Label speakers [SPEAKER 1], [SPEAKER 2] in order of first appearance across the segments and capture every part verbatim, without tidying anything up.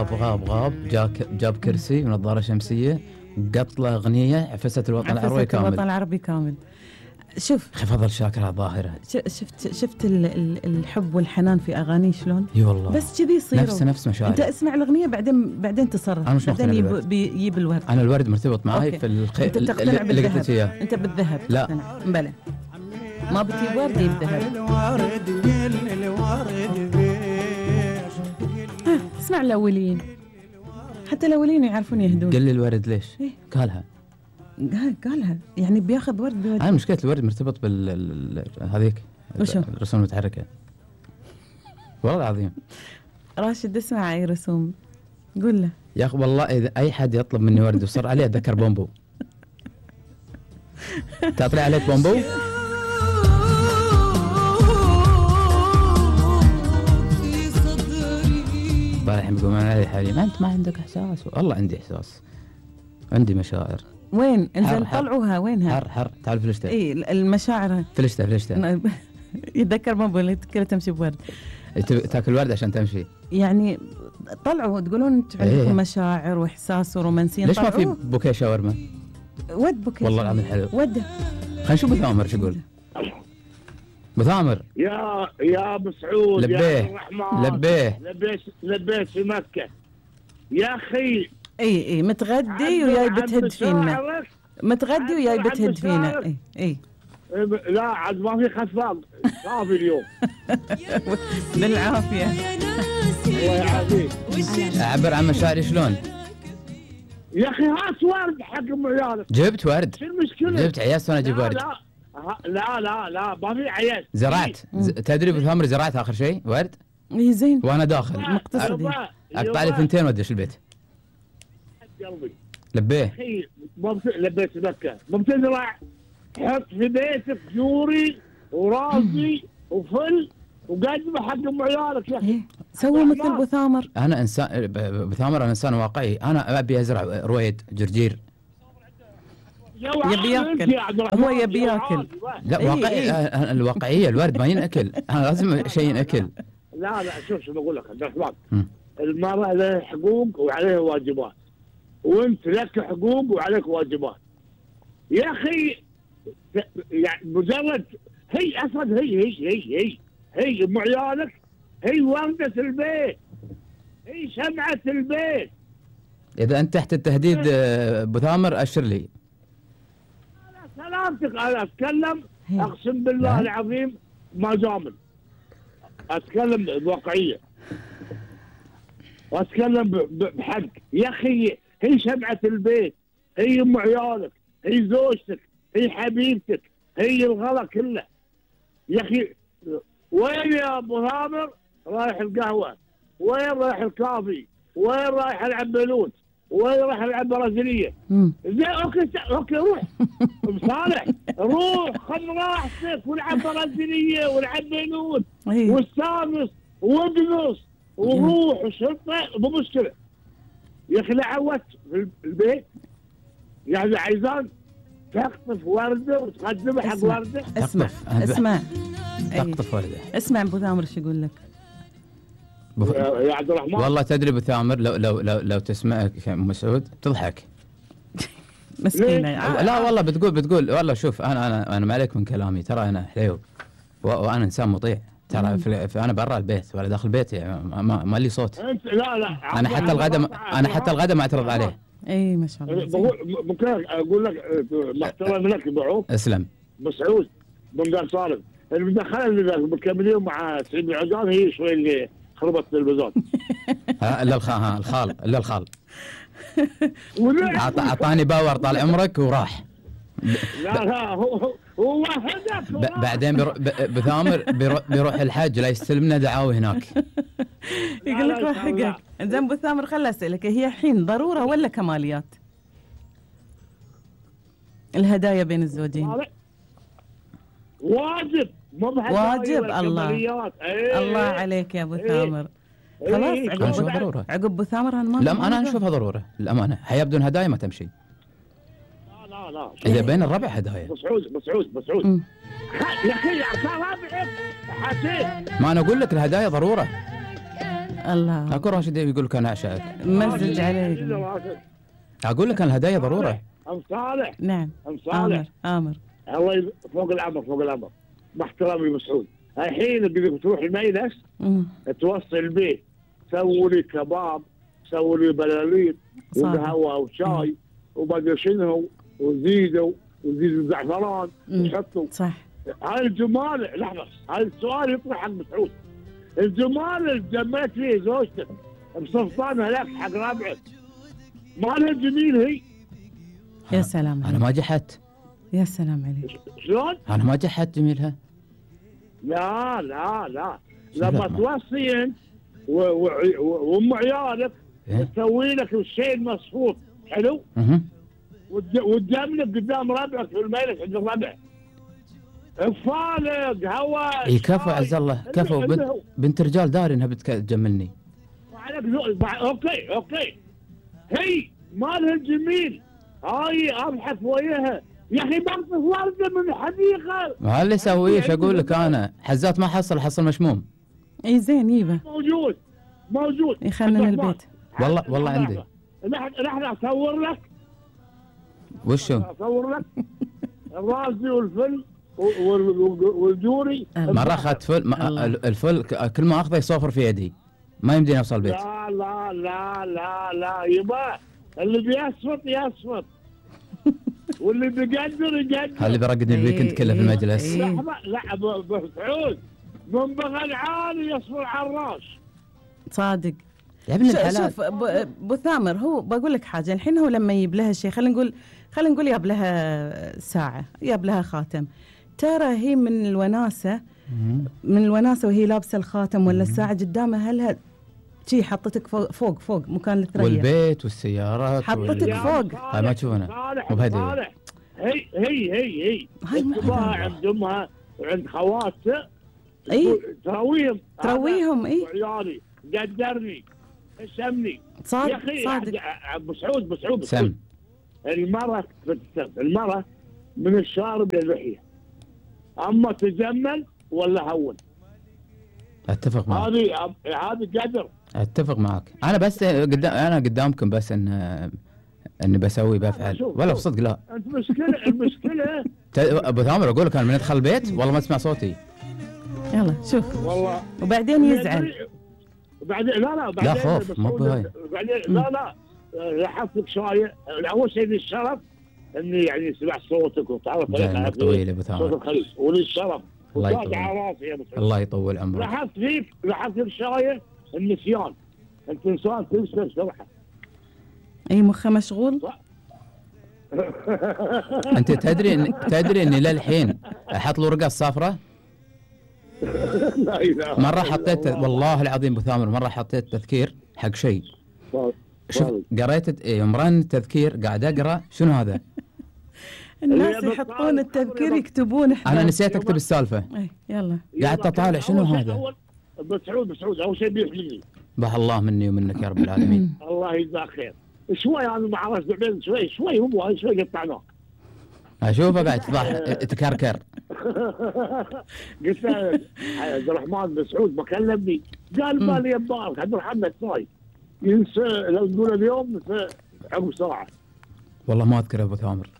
[SPEAKER 1] غاب غاب غاب جاك جاب كرسي ونظارة شمسية قط له أغنية عفست الوطن العربي كامل.
[SPEAKER 2] الوطن العربي كامل. شوف
[SPEAKER 1] فضل شاكر الظاهرة.
[SPEAKER 2] شفت شفت الحب والحنان في أغاني شلون؟
[SPEAKER 1] اي والله
[SPEAKER 2] بس كذي يصير
[SPEAKER 1] نفس نفس مشاعر.
[SPEAKER 2] أنت اسمع الأغنية بعدين بعدين تصرف. بعدين يجيب يجيب الورد.
[SPEAKER 1] أنا الورد مرتبط معي في الخ...
[SPEAKER 2] أنت تقتنع
[SPEAKER 1] اللي قلت
[SPEAKER 2] بالذهب. أنت بالذهب
[SPEAKER 1] لا
[SPEAKER 2] بلى ما بتجيب ورد يجيب ذهب. اسمع الأولين حتى الأولين يعرفون يهدون.
[SPEAKER 1] قل لي الورد ليش؟
[SPEAKER 2] إيه؟
[SPEAKER 1] قالها
[SPEAKER 2] قالها يعني بياخذ ورد بورد.
[SPEAKER 1] أنا مشكلة الورد مرتبط بال هذيك الرسوم المتحركة والله العظيم.
[SPEAKER 2] راشد اسمع أي رسوم قول له
[SPEAKER 1] يا أخي والله إذا أي حد يطلب مني ورد وصر عليه أتذكر بومبو. تطلع عليك بومبو؟ طالع يقولون علي حالي ما أنت ما عندك إحساس. والله عندي إحساس عندي مشاعر.
[SPEAKER 2] وين انزل طلعوها وينها؟
[SPEAKER 1] حر حر تعال فلشتة.
[SPEAKER 2] اي المشاعر
[SPEAKER 1] فلشتة فلشتة
[SPEAKER 2] يتذكر بومبو اللي كلها تمشي بورد.
[SPEAKER 1] تاكل ورد عشان تمشي يعني.
[SPEAKER 2] طلعوا تقولون انتم عندكم إيه؟ مشاعر واحساس ورومانسيه.
[SPEAKER 1] ليش ما في بوكيه شاورما؟
[SPEAKER 2] ود بوكيه
[SPEAKER 1] والله العظيم حلو.
[SPEAKER 2] وده
[SPEAKER 1] خلينا نشوف بثامر شو يقول. بثامر
[SPEAKER 3] يا يا مسعود
[SPEAKER 1] لبيه
[SPEAKER 3] يا الرحمن
[SPEAKER 1] لبيه
[SPEAKER 3] لبيت لبيت في مكة يا اخي.
[SPEAKER 2] اي اي متغدي وياي بتهد فينا. متغدي وياي بتهد فينا. اي اي
[SPEAKER 3] لا عاد ما في خفاق صافي اليوم.
[SPEAKER 2] بالعافيه
[SPEAKER 3] الله يعافيك.
[SPEAKER 1] اعبر عن مشاعري شلون
[SPEAKER 3] يا اخي. هات ورد حق ام عيالك.
[SPEAKER 1] جبت ورد.
[SPEAKER 3] شو المشكله؟
[SPEAKER 1] جبت عياس وانا اجيب ورد.
[SPEAKER 3] لا لا لا لا ما في عياس.
[SPEAKER 1] زرعت ز... تدري بثامر زرعت اخر شيء ورد.
[SPEAKER 2] اي زين
[SPEAKER 1] وانا داخل
[SPEAKER 2] مقتصدي
[SPEAKER 1] اقطع لي ثنتين وادش البيت.
[SPEAKER 3] قلبي
[SPEAKER 1] لبيه
[SPEAKER 3] اخي لبيت مكه مو بتزرع. حط في بيتك جوري ورازي وفل وقدم حق ام عيالك يا اخي.
[SPEAKER 2] سووا مثل بثامر.
[SPEAKER 1] انا انسان بثامر انا انسان واقعي. انا ابي ازرع رويد جرجير.
[SPEAKER 2] يبي ياكل هو يبي ياكل.
[SPEAKER 1] لا واقعي. إيه إيه. الواقعيه الورد ما ينأكل. انا لازم شيء ينأكل.
[SPEAKER 3] لا لا شوف شو بقول لك عبد الرحمن. المرأة لها حقوق وعليها واجبات وانت لك حقوق وعليك واجبات يا اخي. يعني مجرد هي اصلا هي هي هي هي هي ام عيالك. هي وردة البيت. هي شمعة البيت.
[SPEAKER 1] اذا انت تحت التهديد بثامر اشر لي.
[SPEAKER 3] لا سلامتك. انا اتكلم اقسم بالله العظيم ما جامل. اتكلم بواقعيه واتكلم بحق يا اخي. هي شمعة البيت. هي ام عيالك. هي زوجتك. هي حبيبتك. هي الغلا كله يا اخي. وين يا ابو ثامر رايح القهوه؟ وين رايح الكافي؟ وين رايح العب بلوت؟ وين رايح العب برازيليه؟ زين اوكي اوكي روح بصالح روح خذ راحتك والعب برازيليه والعب بلوت واستانس وادنس وروح وشرطه مو مشكله يا اخي. لا عودت في البيت يعني عايزان تقطف ورده وتقدمها حق ورده.
[SPEAKER 2] اسمع اسمع
[SPEAKER 1] تقطف ورده.
[SPEAKER 2] اسمع ابو ثامر شو يقول لك.
[SPEAKER 3] بف... يا عبد الرحمن
[SPEAKER 1] والله تدري ابو ثامر لو لو لو لو تسمعك ام مسعود تضحك.
[SPEAKER 2] مسكينه.
[SPEAKER 1] لا والله بتقول بتقول والله شوف انا انا انا ما عليك من كلامي. ترى انا حليو وانا انسان مطيع. ترى في, في انا برا البيت ولا داخل بيتي يعني ما, ما لي صوت.
[SPEAKER 3] انت لا لا
[SPEAKER 1] انا حتى الغداء انا حتى الغداء ما اعترض عليه.
[SPEAKER 2] اي ما شاء الله.
[SPEAKER 3] بقول ممكن اقول لك محترم لك بعوف.
[SPEAKER 1] اسلم.
[SPEAKER 3] مسعود بن دار صالح المدخله اللي مكملين مع سعيد العقاد هي شوي اللي خربت التلفزيون.
[SPEAKER 1] ها الا الخال ها الخال الا الخال. اعطاني باور طال عمرك وراح.
[SPEAKER 3] لا لا هو هو هدف.
[SPEAKER 1] بعدين بثامر بيروح الحج لا يستلمنا دعاوي هناك.
[SPEAKER 2] يقول لك روح حقك. زين ابو ثامر خل اسالك هي الحين ضروره ولا كماليات؟ الهدايا بين الزوجين
[SPEAKER 3] واجب مو
[SPEAKER 2] واجب. الله ايه. الله عليك يا ابو ثامر.
[SPEAKER 3] ايه.
[SPEAKER 2] خلاص
[SPEAKER 1] ايه. عقب اشوفها ضروره.
[SPEAKER 2] عقب ابو ثامر انا ما
[SPEAKER 1] لا انا اشوفها ضروره الامانه. حياه بدون هدايا ما تمشي.
[SPEAKER 3] لا لا لا
[SPEAKER 1] اذا بين الربع هدايا.
[SPEAKER 3] مسعود مسعود مسعود يا اخي صار ربعك حسيت.
[SPEAKER 1] ما انا اقول لك الهدايا ضروره.
[SPEAKER 2] الله.
[SPEAKER 1] اكو راشد يقول لك انا اعشقك.
[SPEAKER 2] مزج عليك.
[SPEAKER 1] اقول لك انا الهدايا ضروره.
[SPEAKER 3] ام صالح.
[SPEAKER 2] نعم.
[SPEAKER 3] ام صالح.
[SPEAKER 2] امر.
[SPEAKER 3] الله يب... فوق الامر فوق الامر. مع احترامي مسعود. الحين بدك تروح المجلس توصل البيت، سووا لي كباب، سووا لي بلاليط وقهوه وشاي وبقى شنو وزيدوا وزيدوا زعفران وحطوا.
[SPEAKER 2] صح.
[SPEAKER 3] هاي الجمال، لحظه، هاي السؤال يطرح حق مسعود. الجمال اللي جمعت فيه زوجتك بسلطانها لك حق ربعك، مالها جميل هي؟
[SPEAKER 2] يا سلام.
[SPEAKER 1] انا ما جحدت.
[SPEAKER 2] يا سلام عليك.
[SPEAKER 3] شلون؟
[SPEAKER 1] انا ما جحدت جميلها.
[SPEAKER 3] لا لا لا لما توصي انت وام عيالك تسوي لك الشيء المصفوط حلو؟
[SPEAKER 1] اها.
[SPEAKER 3] وتجملك قدام ربعك في المجلس عند الربع. فالق هواء.
[SPEAKER 1] اي كفو عز الله كفو. بنت, بنت رجال داري انها بتجملني.
[SPEAKER 3] وعليك ذوق. اوكي اوكي. هي مالها الجميل. هاي ابحث وياها. يا اخي بقطف ورده من الحديقه.
[SPEAKER 1] ما اللي اسويه ايش اقول لك انا؟ حزات ما حصل حصل مشموم.
[SPEAKER 2] اي زين يبا.
[SPEAKER 3] موجود موجود.
[SPEAKER 2] يخلنا البيت.
[SPEAKER 1] والله والله عندي.
[SPEAKER 3] نحن اصور لك.
[SPEAKER 1] وشو؟
[SPEAKER 3] اصور لك الرازي والفل والجوري.
[SPEAKER 1] مرة اخذت فل الفل كل ما اخذه يصوفر في يدي، ما يمديني اوصل البيت.
[SPEAKER 3] لا لا لا لا لا يبا اللي بيسفط يسفط واللي بيقدر يقدر.
[SPEAKER 1] اللي بيرقدني الويكند كله في المجلس.
[SPEAKER 3] لحظة لا ابو سعود من بغل عالي يصفر على الراس.
[SPEAKER 2] صادق
[SPEAKER 1] يا ابن الحلال.
[SPEAKER 2] شوف ابو ثامر، هو بقول لك حاجه، الحين هو لما يجيب لها شيء، خلينا نقول خلينا نقول ياب لها ساعه، ياب لها خاتم، ترى هي من الوناسه من الوناسه وهي لابسه الخاتم ولا الساعه قدامها، هلها شي حطتك فوق فوق, فوق مكان الثريا
[SPEAKER 1] والبيت والسيارات
[SPEAKER 2] حطتك وال... فوق.
[SPEAKER 1] هاي ما تشوفنا
[SPEAKER 3] مو بهدي. هي هي هي هي تباها عند امها وعند خواتها.
[SPEAKER 2] اي
[SPEAKER 3] ترويهم
[SPEAKER 2] ترويهم. اي
[SPEAKER 3] عيالي قدرني شمني.
[SPEAKER 2] صادق
[SPEAKER 3] يا اخي
[SPEAKER 2] صادق.
[SPEAKER 3] ابو سعود ابو سعود
[SPEAKER 1] سم.
[SPEAKER 3] المراه المراه من الشارب للحيه، اما تجمل ولا هون.
[SPEAKER 1] اتفق معك.
[SPEAKER 3] هذه هذه قدر.
[SPEAKER 1] اتفق معك. انا بس قدام انا قدامكم بس ان اني بسوي بفعل ولا بصدق. لا
[SPEAKER 3] انت مشكله المشكله
[SPEAKER 1] ابو ثامر اقول لك انا من ادخل البيت والله ما اسمع صوتي.
[SPEAKER 2] يلا شوف
[SPEAKER 3] والله
[SPEAKER 2] وبعدين يزعل.
[SPEAKER 3] وبعدين لا لا بعدين
[SPEAKER 1] لا خوف مو بهاي.
[SPEAKER 3] بعدين لا لا لاحظتك شويه. اول شيء للشرف اني يعني سمعت صوتك وتعرف
[SPEAKER 1] جايك طويل يا ابو ثامر.
[SPEAKER 3] صوتك خليل وللشرف.
[SPEAKER 1] الله يطول
[SPEAKER 3] على راسي يا ابو سعود.
[SPEAKER 1] الله يطول عمرك.
[SPEAKER 3] لاحظت فيك لاحظت فيك شويه النسيان. انت انسان تنسى بسرعه.
[SPEAKER 2] اي مخه مشغول.
[SPEAKER 1] انت تدري إن تدري اني للحين احط له رقص صافره.
[SPEAKER 3] لا اله
[SPEAKER 1] مره حطيت والله العظيم ابو ثامر مره حطيت تذكير حق شيء. شوف قريت يوم رن التذكير قاعد اقرا شنو هذا.
[SPEAKER 2] الناس يحطون التذكير يكتبون. احنا
[SPEAKER 1] انا نسيت اكتب السالفه.
[SPEAKER 2] اي يلا
[SPEAKER 1] قاعد اطالع شنو هذا.
[SPEAKER 3] بسعود بسعود اول شيء بيحملني.
[SPEAKER 1] بح الله مني ومنك يا رب العالمين.
[SPEAKER 3] الله يجزاك خير. شوي انا ما عرفت بعدين شوي شوي هو شوي قطعناه.
[SPEAKER 1] اشوفه قاعد تضح تكركر.
[SPEAKER 3] قلت له عبد الرحمن بن سعود ما كلمني قال بالي يا مبارك عبد الرحمن صايد ينسى لو تقول اليوم عقب ساعه.
[SPEAKER 1] والله ما اذكر ابو ثامر.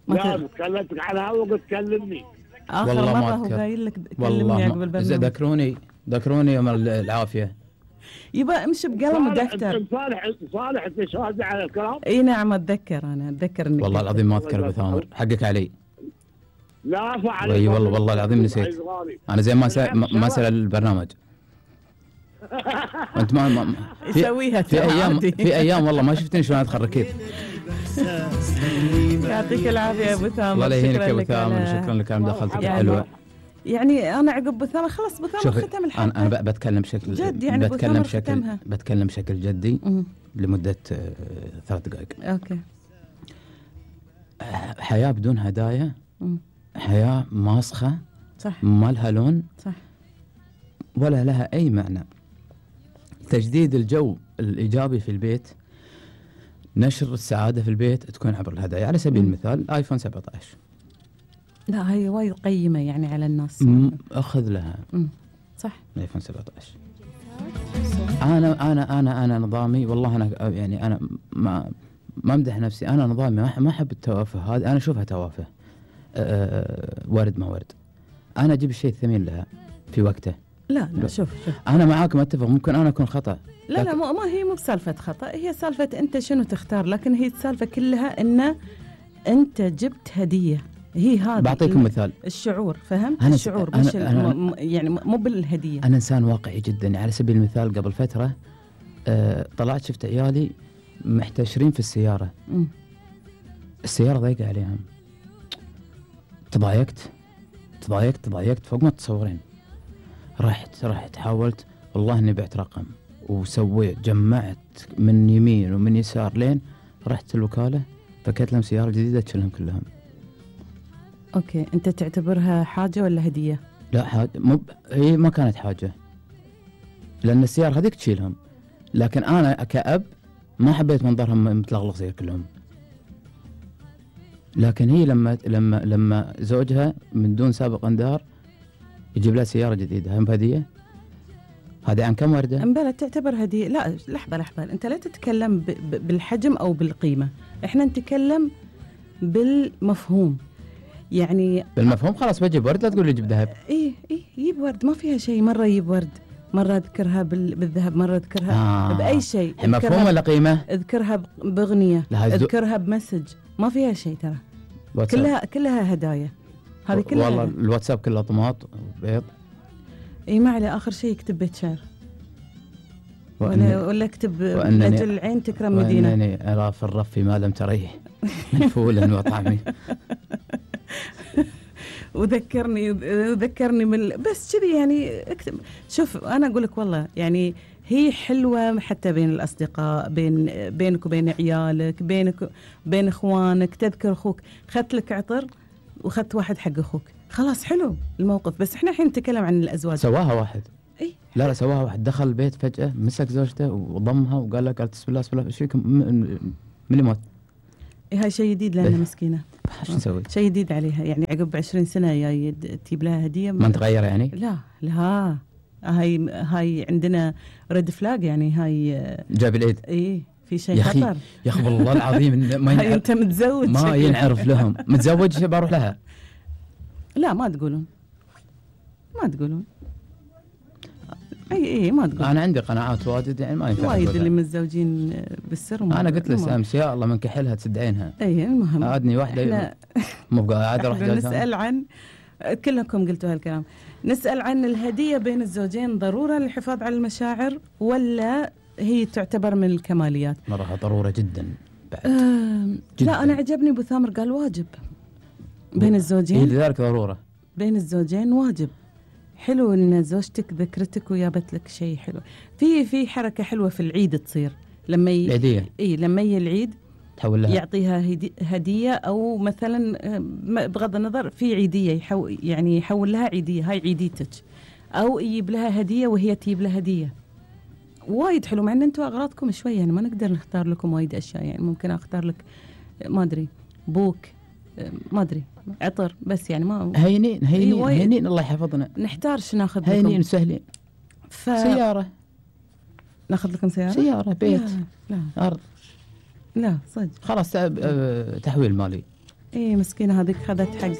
[SPEAKER 3] لا كلمتك على هوا قلت كلمني.
[SPEAKER 2] اخر مره هو قايل لك كلمني عقب البرنامج.
[SPEAKER 1] ذكروني ذكروني يوم العافيه.
[SPEAKER 2] يبا امشي بقلم ودفتر.
[SPEAKER 3] صالح صالح انت شاهد على الكلام؟
[SPEAKER 2] اي نعم اتذكر انا اتذكر انك
[SPEAKER 1] والله العظيم ما اذكر ابو ثامر حقك علي.
[SPEAKER 3] لا فعل.
[SPEAKER 1] اي والله والله العظيم نسيت. انا زي ما سأ... ما سأل البرنامج. انت ما, ما في...
[SPEAKER 2] يسويها
[SPEAKER 1] في ايام في ايام والله ما شفتني شلون ادخل ركيب.
[SPEAKER 2] يعطيك العافيه يا ابو ثامر.
[SPEAKER 1] الله لا يهينك يا ابو ثامر. شكرا لك على مداخلتك الحلوه.
[SPEAKER 2] يعني انا عقب ابو ثامر خلاص ابو ثامر ختم الحلقه.
[SPEAKER 1] انا انا بتكلم بشكل
[SPEAKER 2] جد يعني
[SPEAKER 1] بتكلم بشكل بتكلم بشكل جدي لمده ثلاث دقائق.
[SPEAKER 2] اوكي.
[SPEAKER 1] حياه بدون هدايا حياه ماسخه.
[SPEAKER 2] صح.
[SPEAKER 1] ما لها لون.
[SPEAKER 2] صح.
[SPEAKER 1] ولا لها اي معنى. تجديد الجو الايجابي في البيت، نشر السعاده في البيت تكون عبر الهدايا. على سبيل المثال ايفون سبعة عشر.
[SPEAKER 2] لا هي وايد قيمه يعني على الناس.
[SPEAKER 1] اخذ لها.
[SPEAKER 2] مم. صح.
[SPEAKER 1] ايفون سبعة عشر. انا انا انا انا نظامي والله انا يعني انا ما ما امدح نفسي، انا نظامي ما ما احب التوافه هذه، انا اشوفها توافه. أه ورد ما ورد، انا اجيب الشيء الثمين لها في وقته.
[SPEAKER 2] لا لا شوف شوف
[SPEAKER 1] انا معاك ما اتفق، ممكن انا اكون خطا.
[SPEAKER 2] لا لا ما هي مو بسالفه خطا، هي سالفه انت شنو تختار، لكن هي السالفه كلها ان انت جبت هديه، هي هذا.
[SPEAKER 1] بعطيكم مثال
[SPEAKER 2] الشعور، فهمت؟
[SPEAKER 1] أنا
[SPEAKER 2] الشعور
[SPEAKER 1] أنا
[SPEAKER 2] مش
[SPEAKER 1] أنا
[SPEAKER 2] الم... يعني مو بالهديه.
[SPEAKER 1] انا انسان واقعي جدا. على سبيل المثال قبل فتره أه طلعت شفت عيالي محتشرين في السياره،
[SPEAKER 2] م.
[SPEAKER 1] السياره ضيقه عليهم، تضايقت تضايقت تضايقت فوق ما تتصورين. رحت رحت حاولت والله اني بعت رقم وسويت، جمعت من يمين ومن يسار لين رحت الوكاله فكيت لهم سياره جديده تشيلهم كلهم.
[SPEAKER 2] اوكي، انت تعتبرها حاجه ولا هديه؟
[SPEAKER 1] لا حاجه، مو هي ما كانت حاجه لان السياره هذيك تشيلهم، لكن انا كأب ما حبيت منظرهم متلغلق زي كلهم. لكن هي لما لما لما زوجها من دون سابق انذار يجيب لها سياره جديده، هم هديه؟ هذه عن كم ورده؟
[SPEAKER 2] امبلا تعتبر هديه؟ لا لحظه لحظه، انت لا تتكلم ب... ب... بالحجم او بالقيمه، احنا نتكلم بالمفهوم. يعني
[SPEAKER 1] بالمفهوم خلاص بجيب ورد، لا تقول لي جيب ذهب.
[SPEAKER 2] ايه ايه يجيب ورد ما فيها شيء، مره يجيب ورد، مره اذكرها بال... بالذهب، مره اذكرها
[SPEAKER 1] آه.
[SPEAKER 2] باي شيء.
[SPEAKER 1] مفهوم ولا قيمه؟
[SPEAKER 2] اذكرها باغنيه، اذكرها بمسج، ما فيها شيء ترى.
[SPEAKER 1] واتساب.
[SPEAKER 2] كلها كلها هدايا، هذه كلها
[SPEAKER 1] والله
[SPEAKER 2] هدايا.
[SPEAKER 1] الواتساب كله طماط وبيض.
[SPEAKER 2] اي ما عليه، اخر شيء يكتب بيت شعر
[SPEAKER 1] وأنني
[SPEAKER 2] ولا ولا اكتب لاجل العين تكرم مدينه.
[SPEAKER 1] وانني ارى في الرف ما لم تريه من فول وطعمي.
[SPEAKER 2] وذكرني وذكرني من بس كذي يعني اكتب. شوف انا اقول لك والله يعني هي حلوه حتى بين الاصدقاء، بين بينك وبين عيالك، بينك بين اخوانك، تذكر اخوك خذت لك عطر وخذت واحد حق اخوك، خلاص حلو الموقف. بس احنا الحين نتكلم عن الازواج.
[SPEAKER 1] سواها واحد.
[SPEAKER 2] اي
[SPEAKER 1] لا لا سواها واحد، دخل البيت فجاه مسك زوجته وضمها وقال لها، قالت بسم الله بسم الله ايش فيكم من اللي موت؟
[SPEAKER 2] إيه هاي شيء جديد لنا مسكينه.
[SPEAKER 1] شو نسوي؟
[SPEAKER 2] شيء جديد عليها يعني، عقب عشرين سنه جاي تجيب لها هديه
[SPEAKER 1] ما تغير يعني؟
[SPEAKER 2] لا لا هاي هاي عندنا ريد فلاج يعني. هاي
[SPEAKER 1] جاب العيد.
[SPEAKER 2] اي في شيء
[SPEAKER 1] يا أخي
[SPEAKER 2] خطر
[SPEAKER 1] يا اخي والله العظيم ما
[SPEAKER 2] هاي انت متزوج
[SPEAKER 1] ما ينعرف لهم. متزوج بروح لها.
[SPEAKER 2] لا ما تقولون ما تقولون اي اي ما تقول.
[SPEAKER 1] انا عندي قناعات واجد يعني ما ينفع.
[SPEAKER 2] وايد اللي متزوجين بالسر.
[SPEAKER 1] انا قلت له امس يا الله من كحلها تسد عينها.
[SPEAKER 2] اي المهم
[SPEAKER 1] عادني واحده مو قاعد اروح
[SPEAKER 2] نسال عن كلكم قلتوا هالكلام. نسال عن الهديه بين الزوجين، ضروره للحفاظ على المشاعر ولا هي تعتبر من الكماليات؟
[SPEAKER 1] مرة ضروره جدا بعد.
[SPEAKER 2] آه
[SPEAKER 1] جداً.
[SPEAKER 2] لا انا عجبني ابو ثامر قال واجب بين الزوجين.
[SPEAKER 1] هي لذلك ضروره
[SPEAKER 2] بين الزوجين واجب. حلو ان زوجتك ذكرتك وجابت لك شيء حلو. في في حركه حلوه في العيد تصير لما ي...
[SPEAKER 1] العيديه.
[SPEAKER 2] اي لما يجي العيد
[SPEAKER 1] تحول لها
[SPEAKER 2] يعطيها هدي... هديه، او مثلا بغض النظر في عيديه يحو... يعني يحول لها عيديه، هاي عيديتك، او يجيب لها هديه وهي تجيب لها هديه. وايد حلو، مع ان انتم اغراضكم شويه يعني ما نقدر نختار لكم وايد اشياء يعني. ممكن اختار لك ما ادري بوك، ما ادري عطر، بس يعني ما
[SPEAKER 1] هينين هينين
[SPEAKER 2] إيه
[SPEAKER 1] هينين الله يحفظنا.
[SPEAKER 2] نحتارش ناخذ لكم
[SPEAKER 1] هينين سهلين.
[SPEAKER 2] ف...
[SPEAKER 1] سيارة.
[SPEAKER 2] ناخذ لكم سيارة؟
[SPEAKER 1] سيارة بيت
[SPEAKER 2] لا لا
[SPEAKER 1] أرض.
[SPEAKER 2] لا صدق
[SPEAKER 1] خلاص تحويل مالي.
[SPEAKER 2] ايه مسكينة هذيك خذت حقها